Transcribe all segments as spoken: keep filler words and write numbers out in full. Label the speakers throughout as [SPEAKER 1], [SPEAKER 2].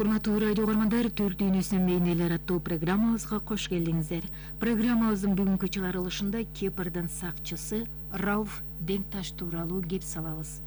[SPEAKER 1] Урматтуу радио угармандар, Түрк дүйнөсүнүн мейнелер аттуу программабызга кош келдиңиздер. Программабыздын бүгүнкү чыгарылышында Кипрдин сакчысы Рауф Денкташ тууралуу кеп салабыз.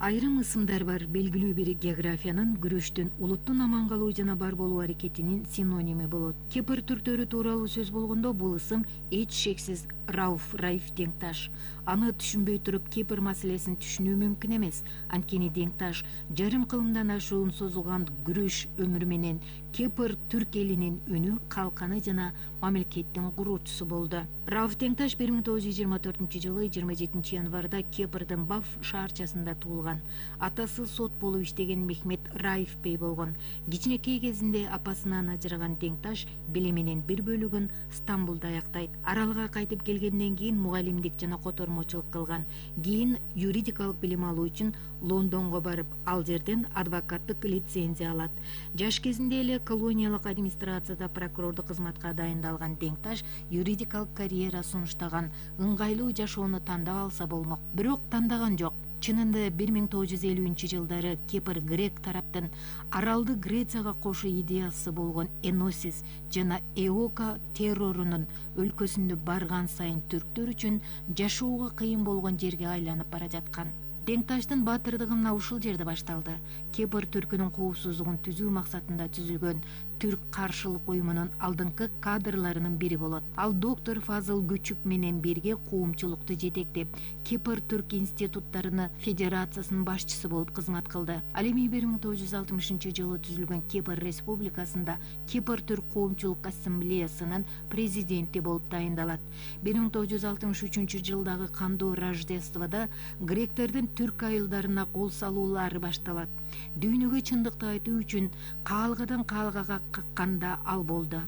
[SPEAKER 1] Айрым ысымдар бар, белгилүү бир географиянын, күрөштүн, улуттун аман калуу жана бар болуу аракетинин синоними болот. Кипр түрктөрү тууралуу сөз болгондо бул ысым эч шексиз Рауф Райф Денкташ. Аны түшүнбөй туруп Кипр маселесин түшүнүү мүмкүн эмес. Анткени Денкташ жарым кылымдан ашуун созулган күрөш өмүрү менен Кипр түрк элинин үнү, калканы жана мамлекеттин куруучусу болду. Рауф Денкташ бир миң тогуз жүз жыйырма төртүнчү жылы жыйырма жетинчи январда Кипрдин Баф шаарчасында туулган. Атасы сот болуп иштеген Мехмет Раиф бей болгон. Кичинекей кезинде апасынан ажыраган Денкташ билими менен бир бөлүгүн Стамбулда аяктайт. Аралга кайтып келгенден кийин мугалимдик жана котормочулук кылган. Кийин юридикалык билим алуу үчүн Лондонго барып, ал жерден адвокаттык лицензия алат. Жаш кезинде эле колониялык администрацияда прокурордук кызматка дайындалган Денкташ юридикалык карьера сунуштаган, ыңгайлуу жашоону тандап алса болмок. Бирок тандаган жок. Чынында бир миң тогуз жүз элүүнчү жылдары Кипр грек тараптын аралды Грецияга кошуу идеясы болгон Эносис жана Эока террорунун өлкөсүндө барган сайын түрктөр үчүн жашоого кыйын болгон жерге айланып бара жаткан. Денкташтын баатырдыгы мына ушул жерде башталды. Кипр түркүнүн коопсуздугун түзүү максатында түзүлгөн Түрк каршылык уюмунун алдыңкы кадрларынын бири болот. Ал доктор Фазыл Күчүк менен бирге коомчулукту жетектеп, Кипр түрк институттарынын федерациясынын башчысы болуп кызмат кылды. Ал эми бир миң тогуз жүз алтымышынчы жылы түзүлгөн Кипр республикасында Кипр түрк коомчулук ассамблеясынын президенти болуп тайындалат. бир миң тогуз жүз алтымыш үчүнчү жылдагы кандуу Рождестводо гректердин түрк айылдарына кол салуулары башталат. Дүйнөгө чындыкты айтуу үчүн каалгадан каалгага какканда ал болду.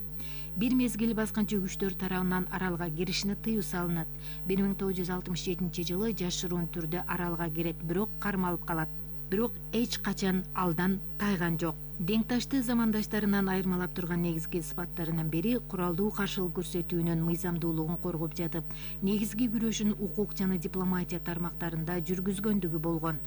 [SPEAKER 1] Бир мезгил баскынчы күчтөр тарабынан аралга киришине тыюу салынат. бир миң тогуз жүз алтымыш жетинчи жылы жашыруун түрдө аралга кирет, бирок кармалып калат. Бирок эч качан алдан тайган жок. Денкташты замандаштарынан айырмалап турган негизги сыпаттарынын бири куралдуу каршылык көрсөтүүнүн мыйзамдуулугун коргоп жатып, негизги күрөшүн укук жана дипломатия тармактарында жүргүзгөндүгү болгон.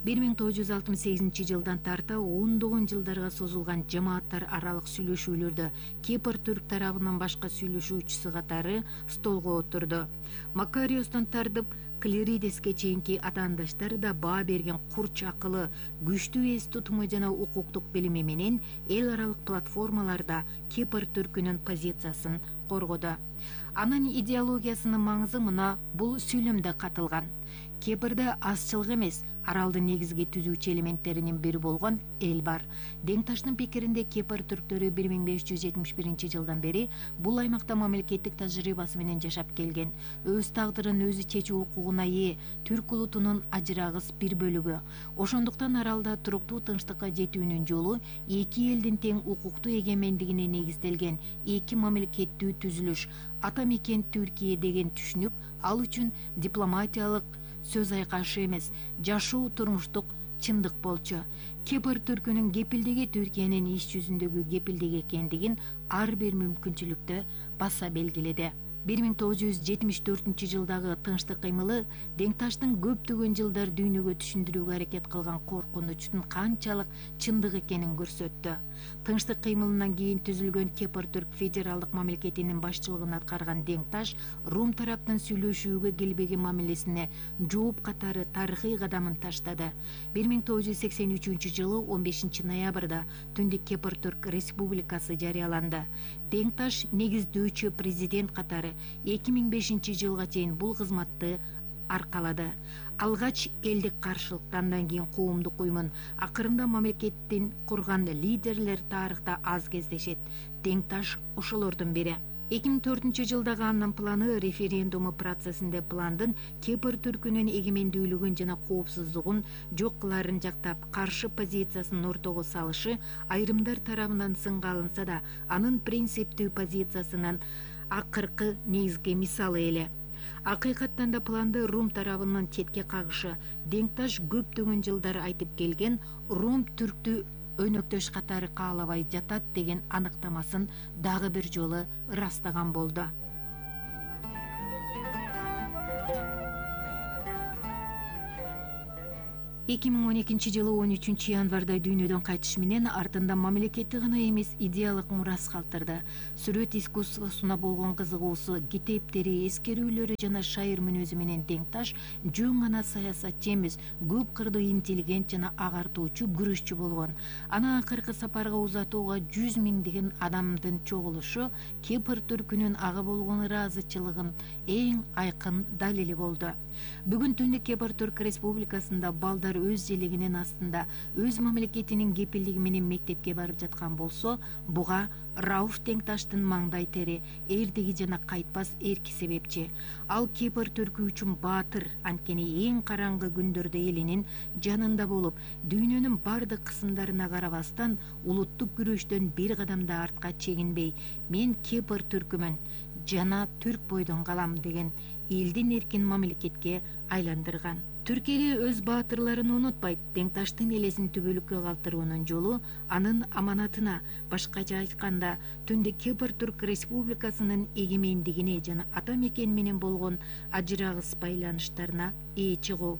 [SPEAKER 1] бир миң тогуз жүз алтымыш сегизинчи жылдан тарта ондогон жылдарга созулган жамааттар аралык сүйлөшүүлөрдө Кипр түрк тарабынын башка сүйлөшүүчүсү катары столго отурду. Макариостон тартып Клеридеске чейинки атаандаштары да баа берген курч акылы, күчтүү эс тутуму жана укуктук билими менен эл аралык платформаларда Кипр түркүнүн позициясын коргоду. Анын идеологиясынын маңызы мына бул сүйлөмдө катылган. Кипрде азчылык эмес, аралдын негизги түзүүчү элементтеринин бири болгон эл бар. Денкташтын пикиринде Кипр түрктөрү бир миң беш жүз жетимиш биринчи жылдан бери бул аймакта мамлекеттик тажрыйбасы менен жашап келген, өз тагдырын өзү чечүү укугуна ээ, түрк улутунун ажырагыс бир бөлүгү. Ошондуктан аралда туруктуу тынчтыкка жетүүнүн жолу эки элдин тең укуктуу эгемендигине негизделген эки мамлекеттүү түзүлүш, ата мекен Түркия деген түшүнүк ал үчүн дипломатиялык сөз айкашы эмес, жашоо турмуштук чындык болчу. Кипр түркүнүн кепилдиги Түркиянын иш жүзүндөгү кепилдиги экендигин ар бир мүмкүнчүлүктө баса белгиледи. бир миң тогуз жүз жетимиш төртүнчү жылдагы тынчтык кыймылы Денкташтын көптөгөн жылдар дүйнөгө түшүндүрүүгө аракет кылган коркунучтун канчалык чындык экенин көрсөттү. Тынчтык кыймылынан кийин түзүлгөн Кипр түрк федералдык мамлекетинин башчылыгын аткарган Денкташ Рум тараптын сүйлөшүүгө келбеген мамилесине жооп катары тарыхый кадамын таштады. бир миң тогуз жүз сексен үчүнчү жылы он бешинчи ноябрда Түндүк Кипр түрк республикасы жарыяланды. Денкташ негиздөөчү президент катары эки миң бешинчи жылга чейин бул кызматты аркалады. Алгач элдик каршылыктан, андан кийин коомдук уюмун, акырында мамлекеттин курган лидерлер тарыхта аз кездешет. Денкташ ошолордун бири. эки миң төртүнчү жылдагы анын планы референдуму процессинде пландын Кипр түркүнүн эгемендүүлүгүн жана коопсуздугун жок кыларын жактап, каршы позициясын ортого салышы айрымдар тарабынан сынга алынса да, анын принциптүү позициясынын акыркы негизги мисалы эле. Акыйкаттан да планды Рум тарабынын четке кагышы. Денкташ көптөгөн жылдар айтып келген Рум түрктү өнөктөш катары каалабай жатат деген аныктамасын дагы бир жолу ырастаган болду. эки миң он экинчи жылы он үчүнчү январда дүйнөдөн кайтыш менен артында мамлекети гана эмес идеялык мурас калтырды. Сүрөт искусствосуна болгон кызыгуусу, китептери, эскерүүлөрү жана шайыр мүнөзү менен теңташ жөн гана саясатчы эмес, көп кырдуу интеллигент жана агартуучу күрөшчү болгон. Аны акыркы сапарга узатууга жүз миңдеген адамдын чогулушу Кипр түркүнүн ага болгон ыраазычылыгын эң айкын далили болду. Бүгүн Түндүк Кипр Түрк Республикасында балдар өз желегинин астында өз мамлекетинин кепилдиги менен мектепке барып жаткан болсо, буга Рауф Теңташтын маңдай тери, эрдиги жана кайтпас эрки себепчи. Ал Кипр түркү үчүн баатыр, анткени эң караңгы күндөрдө элинин жанында болуп, дүйнөнүн бардык кысымдарына карабастан улуттук күрөштөн бир кадам да артка чегинбей, мен Кипр түркүмүн жана түрк бойдон калам деген элдин эркин мамлекетке айландырган. Түркиягө өз баатырларын унутпайт. Теңташтын элесин түбөлүккө калтыруунун жолу анын аманатына, башкача айтканда, Түндүк Кипр Түрк Республикасынын эгемендигине жана ата мекен менен болгон ажырагыс байланыштарына ээ чыгуу.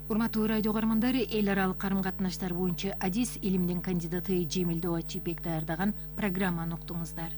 [SPEAKER 1] Урматтуу радио каармандар, эл аралык карым катнаштар боюнча адис илимдин кандидаты Жемил Добачибек даярдаган программаны уктуңуздар.